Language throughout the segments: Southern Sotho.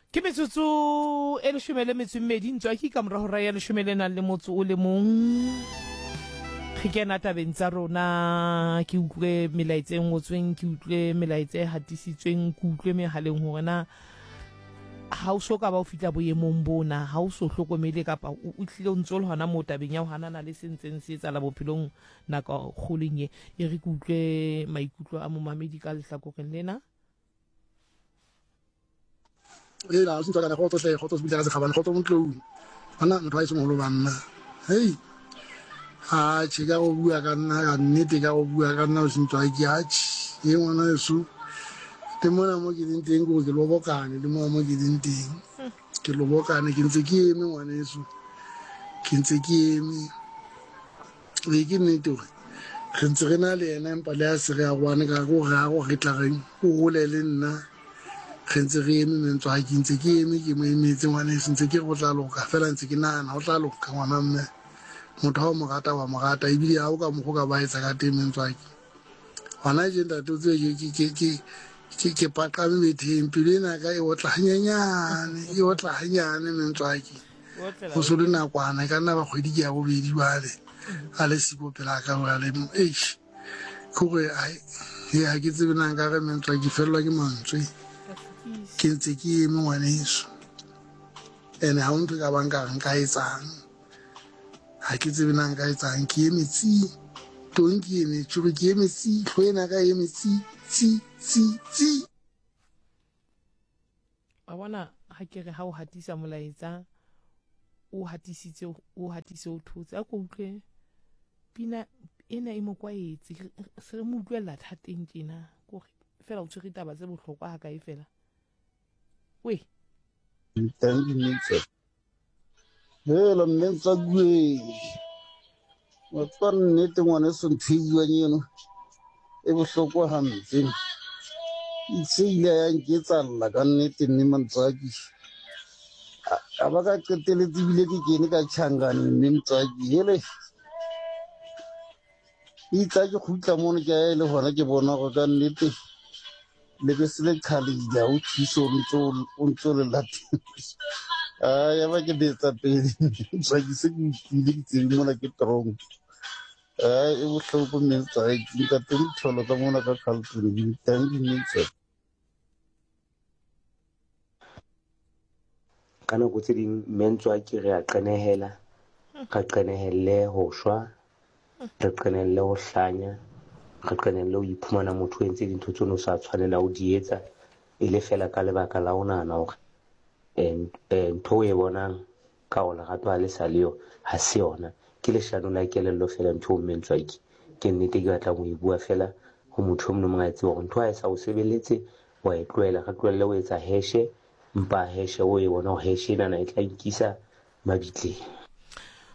Ke metsotso e leshome le metso e mmedi ntswaki ka mora hora ya leshome le nang le motso o le mong. Re kena tabeng tsa rona, ke utlwe melaetsa e ngotsweng, ke utlwe melaetsa e hatisitsweng, ke utlwe mehaleng hore na ha o so ka ba o fihla boemong bona, ha o so hlokomele kapa o hlile o ntse o le hona moo tabeng ya ho hanana le se ntseng se etsahala bophelong nako kgolong e. E re ke utlwe maikutlo a momamedi ka lehlakoreng lena. Hela, o sentse kana kgotso hle, kgotso sebitsa ka sekgabane, kgotso motlou. Banna motho wa eso moholo banna. Hei. Atjhe ka go bua ka nna ka nnete ka go bua ka nna o sentse ke atjhe. E ngwana eso. Le mona mo ke leng teng ke gore ke lobokane le mona mo ke leng teng. Ke lobokane ke ntse ke eme ngwaneso. Ke ntse ke eme. Ee, ke nnete gore re ntse re na le yena empa le a se re aroane ka go re a go re tla reng o gole le nna re ntse re eme mentswa ke ntse ke eme ke mo emetse ngwaneso ntse ke re go tla loka fela ntse ke nagana go tla loka ngwana mme motho ha o mo rata wa mo rata ebile ha o ka mokgo ka ba etsa ka teng mentswa ke gona je ntate o tsebe ke paqame betheng pelo ena ka e otla hanyenyane e otla hanyane mentswaki go se le nakwana e ka nna ba kgwedi ke ya bobedi jale a le siko pela ka jale eish ke gore e ga ke tsebe nang ka re mentswa ke felelwa ke mantswe ke ntse ke eme ngwaneso ene ga o ntho e ka bang ka re nka etsang ga ke tsebe na nka etsang ke eme tsi tong ke eme tšore ke eme tsi tlho ena ka eme tsi tsi tsi tsi Wa bona ha ke re ha o hatisa molaetsa o hatisitse o hatise o thotse a ko utlwe pina ena e mo kwaetse se re mo utlwela thateng tjena kore fela o tshwere taba tse bohlokwa ha kae fela we. Hela mme Ntsakue, wa tseba nnete ngwaneso ntho e buang eno e bohloko hampe. Itse ile ya nketsalla ka nnete mme Mantswaki. Ka ba ka qeteletse ebile ke kene ka tjhankaneng mme Motswaki. Hele itse ha ke kgutla mono ke ya e le hona ke bona hore ka nnete lebese le qhalehile ha o thuse o ntso le latela. A ya ba ke betsa pele Motswaki se ke utlwile ke tsebe mona ke tronk. A e bohloko mme Motswaki ntate Mtholo ka mona ka Carlton dankie mme Motswaki. Ka nako tse ding mme Ntswaki re a qenehela, re qenehelle ho shwa, re qenehelle ho hlanya, re qenehelle ho iphumana motho o entse dintho tseo o sa tshwanela ho di etsa e le feela ka lebaka la ho nahana hore ntho o e bonang ka hore lerato ha le sa le yo ha se yona. Ke leshano la kelello feela ntho eo mme Ntswaki. Ke nnete ke batlang ho e bua feela ho motho e mong le mong a e tsebe hore ntho ha e sa o sebeletse wa e tlohela. Re tlohelle ho etsa heshe, mpa heshe o e bona hore heshe enana e tla nkisa mabitleng.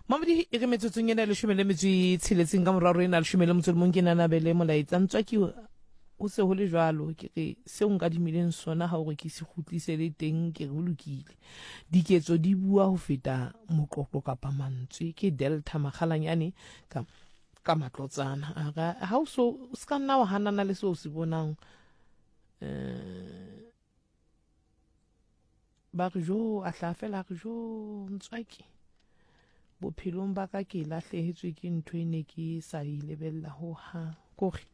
Mamodi e re metsotsong ena e leshome le metso e tsheletseng ka moraro ena leshome le motso le mong ke nanabele molaetsa ntswaki ho se ho le jwalo ke re seo nka dimileng sona ha o re ke se kgutlise le teng ke re ho lokile diketso di bua ho feta moqoqo kapa mantswe ke delta makgalanyane ka ka matlotsana a re ha o so o se ka nna wa hanana le seo o se bonang eh ba re jo a hlaha fela a re jo ntswaki bophelong ba ka ke lahlehetswe ke ntho e ne ke sa e lebella ho hang kore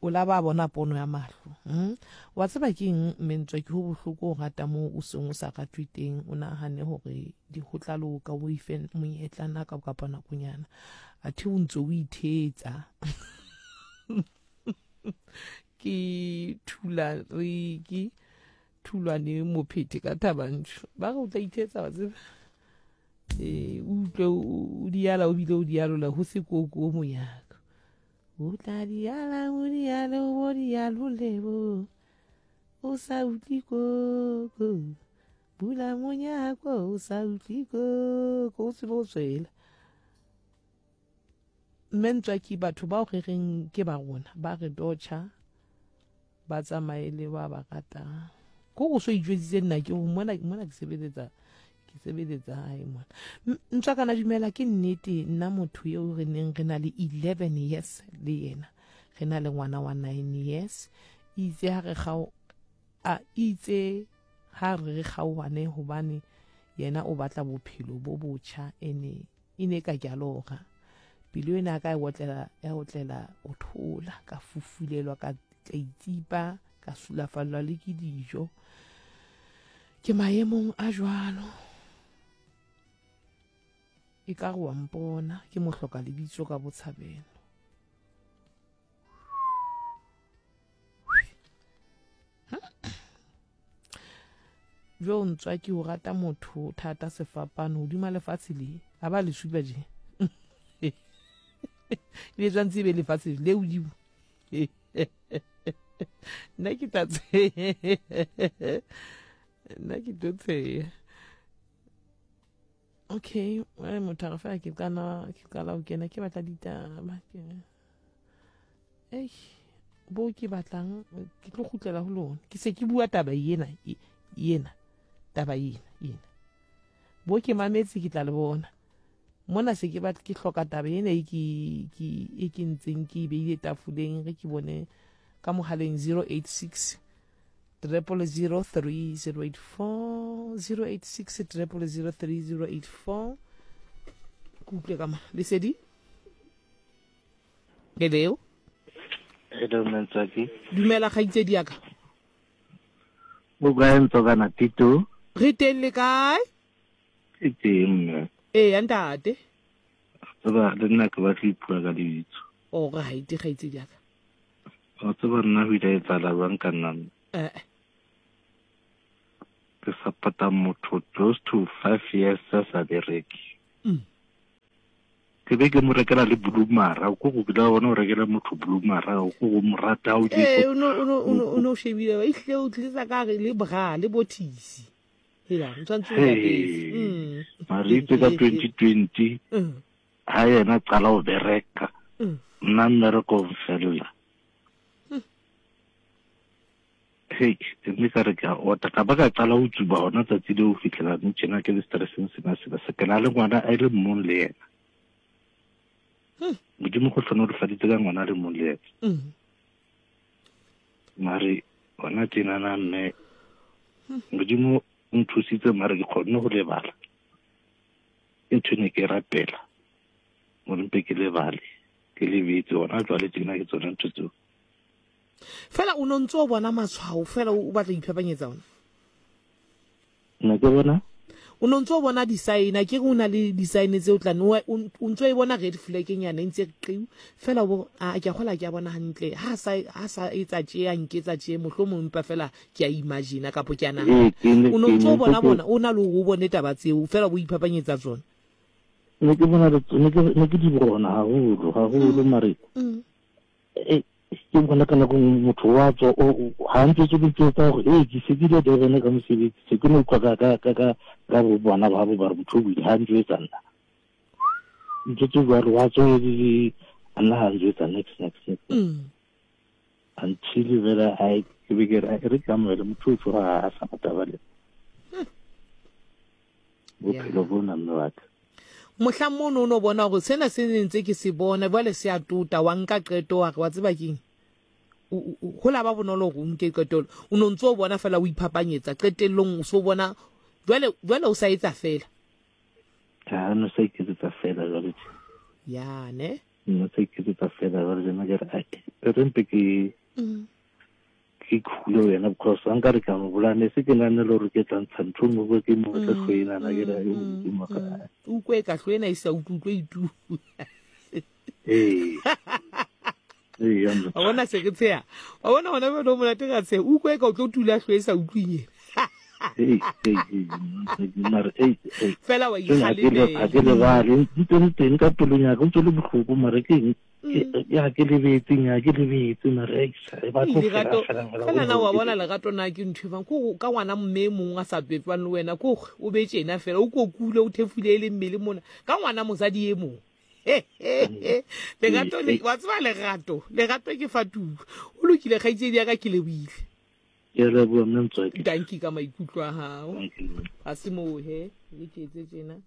o la ba bona pono ya mahlo hmm? wa tseba ke eng mme ntswaki ho bohloko o rata moo o seng o sa ratwe teng o nahane hore di ho tla loka o ife monyetla na ka kapa nakonyana athe o ntse o ithetsa ke thula re ke thulwane mophethe ka thabantsho ba re o tla ithetsa wa tseba ee o utlwe o diala o bile o dialola ho se koko o monyaka o tla diala o diale o bo dialole bo o sa utlwe koko bula monyako o sa utlwe koko o tsebe o tswela Mme Ntswaki, batho bao re reng ke ba rona ba re dotjha ba tsamaye le ba ba ratang. Ko go so itjwetsitse nna ke go mona mona ke sebeletsa ke sebeletsa hae mona. Ntswakana dumela ke nnete nna motho eo re neng re na le 11 years le yena. Re na le ngwana wa 9 years. Itse ha re gao a itse Ha re re kgaohane hobane yena o batla bophelo bo botjha ene e ne ka ke a lora. Pelo ena ya ka ya otlela ya otlela o thola ka fufulelwa ka ka itsipa ka sulafallwa le ke dijo. Ke maemong a jwalo. E ka re wa mpona ke mohloka lebitso ka botshabelo. Jo ntswa ke o rata motho thata sefapano hodima lefatshe le a ba le supa je le tshwanetse e be lefatshe le hodimo nna ke tla nna ke tlo tsheya okay motho a re fela ke qala ke qala ho kena ke batla ditaba ke ei bo ke batlang ke tlo kgutlela ho lona ke se ke bua taba ena ena taba ena ena bo ke mametse ke tla le bona mona se ke batla ke hloka taba ena e ke ke e ke ntseng ke e beile tafoleng re ke bone ka mohaleng 086 000 3084 086 000 3084 ke utlwe ka ma lesedi Hello. Hello, Mntswaki. Dumela kgaitsedi ya ka. O kae Ntswakana Tito? Re teng le kae? Ke teng mme. Ee, ya ntate. Tseba le nna ke batla ipua ka lebitso. O right kgaitsedi ya ka. O tseba nna ho ile etsahala jwang ka nna? Eh. Ke support-a motho close to 5 years a sa bereke. Ke be ke mo rekela le blumara ko go kile wa bona o rekela motho blumara ko go mo rata o ee o no o no o no o no shebile ba ihle o tlisa ka re le bra le bothisi hela o tshwanetse o yapetse mare itse ka 2020 ha yena qala o bereka nna mmereko o mfella Hei, mme ka re ke a ota ka ba ka qala ho tsuba hona tsatsi leo ho fihlela nou tjena ke le stresseng sena sena se ke na le ngwana a le mong le yena. Modimo go hlonolofaditse ka ngwana a le mong le yena. Mare hona tjenana mme Modimo o nthusitse mare ke kgonne ho lebala. Ke ntho e ne ke rapela gore mpe ke lebale ke lebetse hona jwale tjena ke tsona ntho tseo. Fela o no ntse o bona matshwao fela o batla iphapanyetsa ona. Ne ke bona o no ntse o bona di-sign a ke re o na le di-sign tse o tla o ntse o e bona red flag nyana e ntse re qiu fela o a ke a gola ke a bona hantle ha sa ha sa etsa tje a nketsa tje mohlomong mpa fela ke a imagine kapo ke a nahana o no ntse o bona bona o na le o bone taba tseo fela o iphapanyetsa tsona ne ke bona ne ke di bona haholo haholo mare ke bona ka nako nngwe motho wa tswa ga ntse tse di tsa gore ee ke se ke ile Durban ka mosebetsi se ke no utlwa ka ka ka ka ka bo bona ba bo ba re motho o buile ga ntse etsa nna ntse tse jwalo wa tswa a nna ga ntse etsa next next next until fela a ke be ke re re ke amohele motho o tsoga a sa taba le bophelo bona mme wa ka mohlang mono o no bona gore sena se ne ntse ke se bona jwale se a tota wa nka qeto wa re wa tseba keng go la ba bonolo gore o nke qeto o no ntse o bona fela o iphapanyetsa qetellong o so bona jwale jwale o sa etsa fela ha no sa iketsetsa fela jwale ya ne no sa iketsetsa fela jwale jena ke re re mpe ke ke khule wena because a nkare ka mo bolaya ne se ke nane le gore ke tla ntsha ntho nngwe ko ke mo tle tlho enana ke re o modimo ka o kwe ka tlho ena e sa utlwe itu ee ee wa bona se ke tsheya wa bona gona bjale o monate ka tsheya o kwe ka o tlo tula tlho e sa utlweng fela wa ikgalemela ga ke lebale ntse le teng ka pelong ya ka ntse le botlhoko mare ke eng ya ke lebetse ya ke lebetse mare e batlo lerato fela na wa bona lerato na ke ntho e bang ko ka ngwana mme e mongwe a sa pepang le wena ko o be tjena fela o kokule o thefule e le mmele mona ka ngwana mosadi e mongwe lerato le wa tseba lerato lerato ke fatulo o lokile kgaitsedi ya ka ke leboile ke leboa mme Ntswaki danki ka maikutlo a gago ga se moo he le ke etse tjena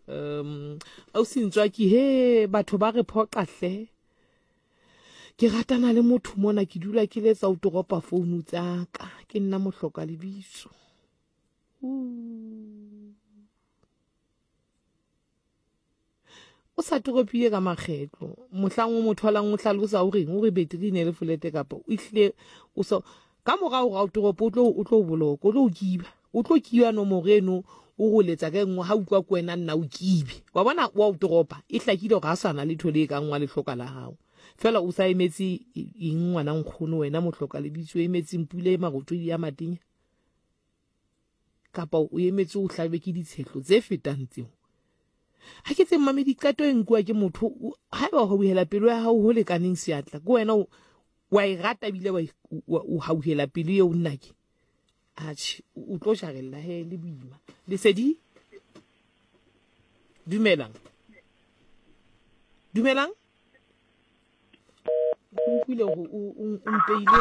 um ausi Ntswaki he batho ba re phoqa hle ke ratana le motho mona ke dula ke letsa o toropa founu tsaka ke nna mohloka lebitso. O sa toropile ka makgetlo. Mohlang o mo tholang o hlalosa o reng, o re betri e ne le folete kapa o ehlile o so ka morao ga o toropo o tlo o tlo boloka, o tlo o kiba. O tlo kiba nomoro eno o go letsa ka e nngwe ha utlwa ke wena nna o kibe. Wa bona wa o toropa e hlakile gore ga sa na letho le e kang wa lehloka la gago. Fela o sa emetse eng ngwana nkgono wena mohloka lebitso o emetseng pula e marothodi ya matenya? Kapa o emetse o hlajwe ke ditshehlo tse fetang tseo? Ha ke tse mmamedi qeto e nkuwa ke motho haeba o hauhela pelo ya hao ho lekaneng seatla ke wena wa e rata ebile o hauhela pelo eo nnake atjhe o tlo jarella he le boima lesedi dumelang dumelang Ke utlwile gore o mpeile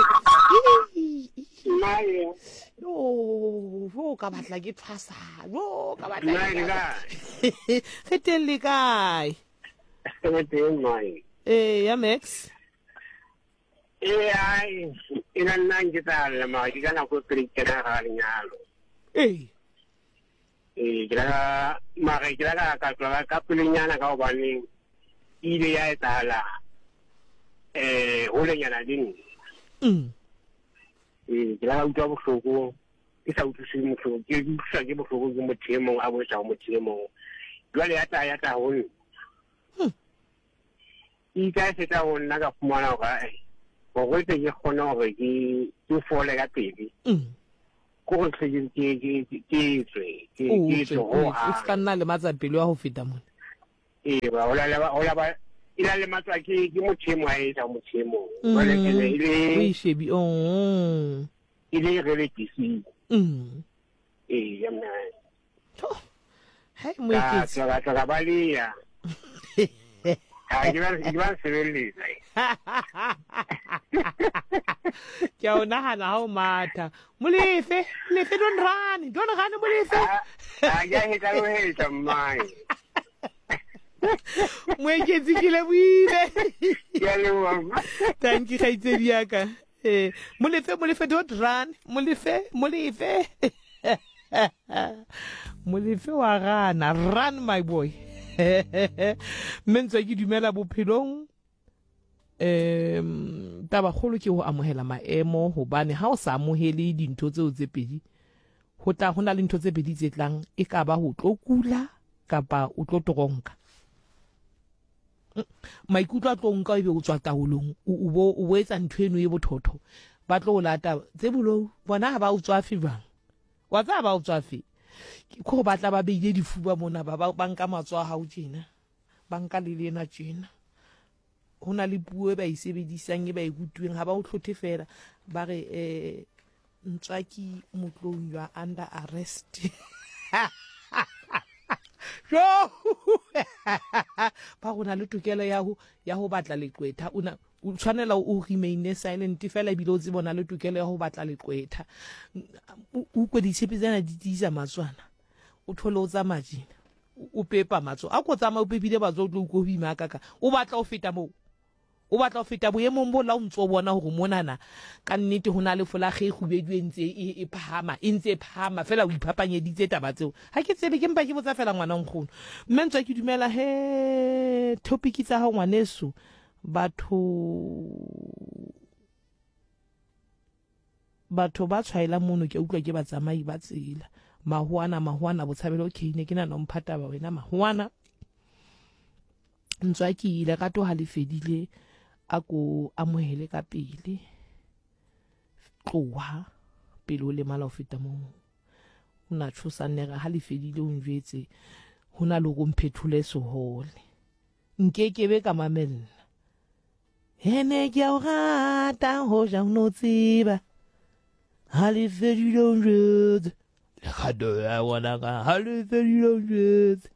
yo ka batla ke thwasa yo ka batla re teng le kae ee ya max ee ai e na nna nke tsa lla mara ke ka nako e pele ke kena ga lenyalo ee ee ke la ka mara ke la ka ka tloga ka pelenyana ka gobane e ile ya etsahala um holenyana le nna mm. ee ke la ka utlwa bohloko ke sa utlwise mohloko ke utlwiswa ke bohloko ke motho e mong a boetsa go motho e mong jwale ya tla ya tla go nna hmm. e itse a e feta go nna ka fumana gore gore tle ke kgone gore ke fole ka pele mm. ko go tle ke tswe ke tswe o se ka nna lematsa pelo ya go feta mone ee ba o la o la ba e la lematswa ke ke motho e mongwe a etsa motho e mongwe jwale mm. ene e le o e shebi oh. e le relative mm. ee ya mna Hai moeketsi. Ka tla ka baleya. Ha ke ba ke ba sebeletsa. Ke a o nagana ha o matha. Molefe, Molefe don't run, don't run Molefe. Ha ke a hetla lo hetla mmae. Moeketsi ke lebohile. Ke a leboha. Thank you kgaitsedi ya ka. Eh, Molefe, Molefe don't run. Molefe, Molefe. Molefe wa gana, run my boy. Mme ntswa ke dumela bophelong um tabakgolo ke go amohela maemo hobane ha o sa amohele dintho tseo tse pedi ho tla ho na le ntho tse pedi tse tlang e ka ba ho tlo kula kapa o tlo toronka maikutlo a tlo nka ebe o tswa taolong o bo o bo etsa ntho eno e bothotho ba tlo o lata tse bolou bona ha ba o tswafe jwang wa tsaya ba o tswafe ke go batla ba beile difuba mona ba ba nka matsoho a hao tjena ba nka le lena tjena ho na le puo e ba e sebedisang e ba e rutuweng ha ba o hlothe fela ba re um ntswaki motlong you are under arrest jo ba go na le tokelo ya go ya go batla leqwetha o na o tshwanela o remaine silent fela ebile o tsebe o na le tokelo ya go batla leqwetha o kwe ditshepe tsena di tiisa matswana o thole o tsamaya tjena o pepa matso a ko tsamaya o pepile matso o tlo utlwa ho ima kaka o batla ho feta moo o batla ho feta boemong bo la o ntse o bona hore monana ka nnete ho na le folakge e kgubedu e ntse e, e phahama e ntse e phahama fela o iphapanyeditse taba tseo ha ke tsebe ke mpa ke botsa fela ngwana nkgono mme ntswa ke dumela he topic tsa hao ngwaneso batho Batho ba tshwaelang mono ke a utlwa ke batsamai ba tsela. Mahoana, mahoana, botshabelo okay ne ke nahana o mpha taba wena mahoana. Ntswaki lerato ha le fedile a ko amohele ka pele. Tloha pele o lemala ho feta moo. O na tshosa nere ha le fedile o njwetse ho na le hore o mphethole sehole. Nkekebe ka mamella. Ene ke a o rata hoja o no tseba ha le fedile o njwetse lerato ya ngwanaka ha le fedile o njwetse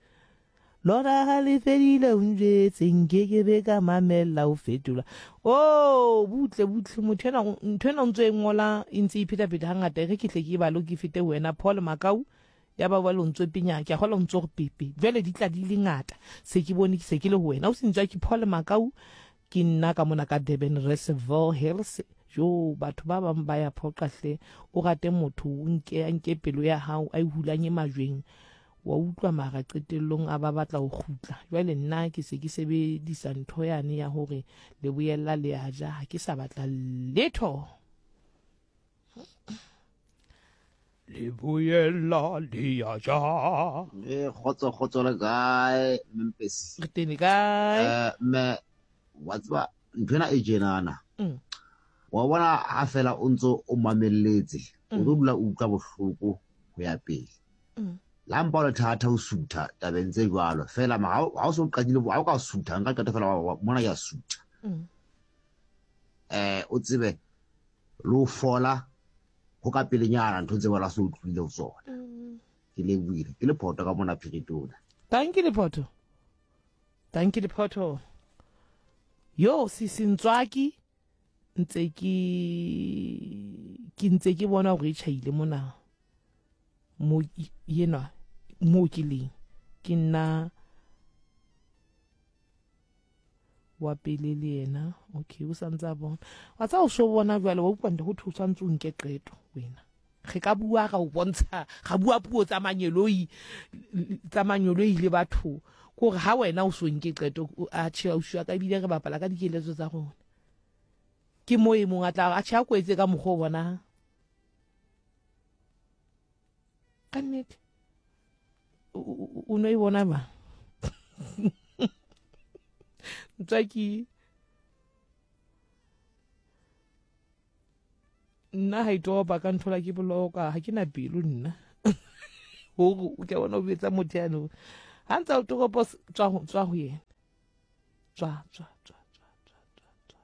lona ha le fedile o njwetse nkekebe ka mamella o fetola o oh, butle butle motho ena ntho ena o ntse e ngola e ntse e phetapheta hangata e re ke tle ke e bale ke fete ho wena Paul Makau Ya ba jwale o ntso penya, ke a kgolwa o ntso re pepe. Jwale di tla di le ngata. Se ke bone ke se ke le ho wena. O se ntswa ke Paul Makau, ke nna ka mona ka Durban Reservoir Hills. Jo, batho ba bang ba ya phoqa hle. O rate motho, o nke a nke pelo ya hao a e hulanye majweng. Wa utlwa mara qetellong a ba batla ho kgutla. Jwale nna ke se ke sebedisa ntho yane ya hore le boyella le a ja, ha ke sa batla letho. Le boyella le a ja. Eh, kgotso kgotso le kae Mmpesi? Re teng kae? Eh, mme wa tseba nthwena e tjenana. Wa bona ha fela o ntso o mamelletse, o tlo dula o utlwa bohloko ho ya pele. La mpa o le thata ho sutha tabeng tse jwalo fela ma ha o so qadile ha o ka sutha nka qeto fela mona ya sutha. Eh o tsebe le ho fola ho ka pelenyana ntho tse wena se o tlohile ho tsona. Ke lebohile ke lephoto ka mona Phiritona. Thank you Lephoto. Thank you Lephoto. Yo sisi Ntswaki ntse ke ke ntse ke bona gore e tšhaile mona mo yenwa mo ke leng ke nna wa pele le yena okay o santse a bona wa tsa o so bona jwale wa utlwa nte go thwe o santse o nke qeto wena re ka bua ra o bontsha ga bua puo tsa manyeloi tsa manyeloi le batho kore ha wena o so nke qeto a tjhe ausi wa ka ebile re bapala ka dikeletso tsa rona ke mo e mong a tla a tjhe a kwetse ka mokgwa o bonang ka nnete o no e bona ba ntswaki nna ga itopa ka nthola ke boloka ga ke na pelo nna gore o ke bona o betsa motho yanong ga ntse o toropo tswa go yena tswa tswa tswa tswa tswa tswa tswa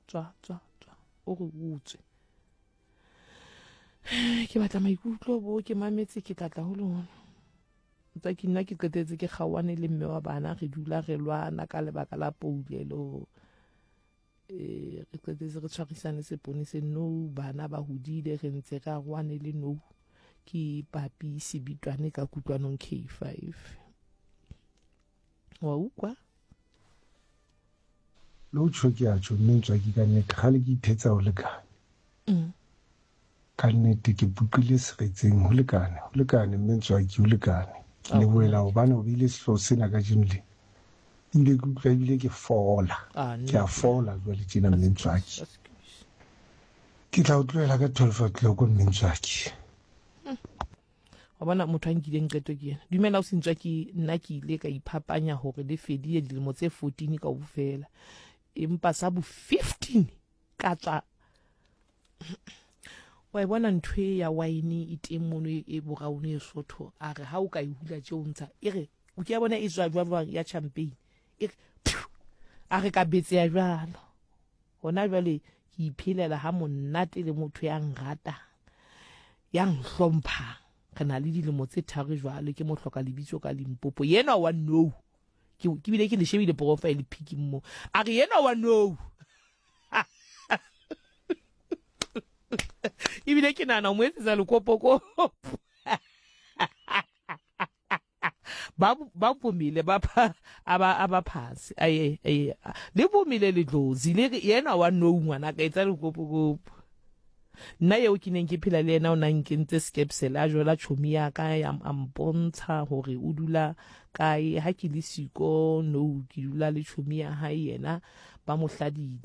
tswa tswa tswa o re utswe ke batla maikutlo bo ke mametse ke tla tla ho lona tsa ke nna ke qetetse ke kgaoane le mme wa bana re dula re lwana ka lebaka la poulelo eh re qetetse re tshwarisane sepone se no bana ba hodile re ntse re aroane le no ke papi sebitwane ka kutlwanong K5 wa ukwa Le ho tjho ke a tjho mme Ntswaki ka nnete kgale ke ithetsa ho lekane. Ka nnete ke boqile seretseng ho lekane, ho lekane mme Ntswaki ho lekane. Ke lebohela hobane o beile sehlooho sena kajeno lena. Ebile ke utlwa ebile ke fola. Ke a fola jwale tjena mme Ntswaki. Ke tla o tlohela ka 12 o'clock mme Ntswaki. Wa bona motho a nkileng qeto ke yena. Dumela o sentswa ke nna ke ile ka iphapanya hore le fedile dilemo tse 14 kaofela. Empa sa bo 15 ka tswa wa e bona ntho e ya wine e teng mono e boraone e sotho a re ha o ka e hula tje o ntsha e re o ke ya bona e tswa jwang ya champagne e re a re ka betseya jwalo Hona jwale ke iphelela ha monate le motho ya nratang, ya nhlomphang. Re na le dilemo tse tharo jwale ke mo hloka lebitso ka Limpopo. Yenwa wa nou. Ke ke bile ke le shebile profile pic mo. A re yenwa wa nou. Ebile ke nahana o mo etsetsa lekopokopo. Ba ba vumile ba aba aba phasi aye aye le vumile ledlozi le re yena wa nou ngwana ka etsa lekopokopo nna eo ke neng ke phela le yena o na nkentse skepsele a jola chomi ya ka ya a mpontsha hore o dula kae ha ke le siko no ke dula le chomi ya hae yena ba mo hladile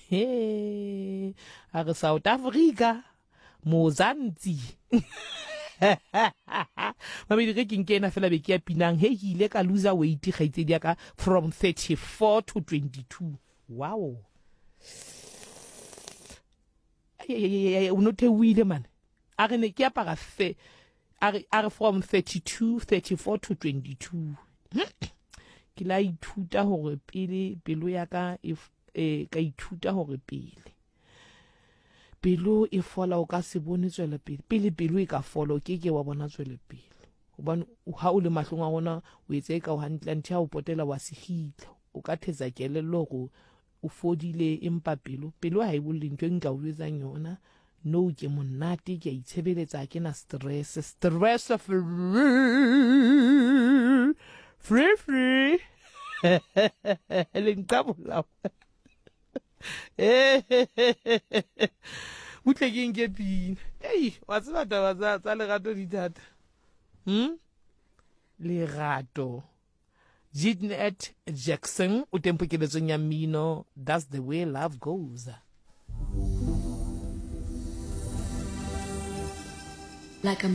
he a re South Africa Mozantsi. Mamedi ge ke nke ena fela be ke ya pinang he ke ile ka loser weight kgaitsedi ya ka from 34 to 22. Wow. O no theohile mane. A re ne ke apara fe a re a re from 32 34 to 22. Ke la ithuta hore pele pelo ya ka e e ka ithuta hore pele Pelo e fola o ka se bone tswelopele. Pele pelo e ka fola o ke ke wa bona tswelopele. Hobane ha o le mahlong a rona o etsa eka o hantle anthe ha o potela wa se gitla. O ka thetsa kelello hore o fodile empa pelo pelo ha e bolle ntho e nka o jwetsang yona. No ke monate ke a itshebeletsa ha ke na stress. Stress free. Free free. Le nqabola. Butle ke nke pina. Ei, wa tseba taba tsa tsa lerato di thata. Lerato. Jeanette Jackson o teng pokeletsong ya mmino That's the Way Love Goes. Like a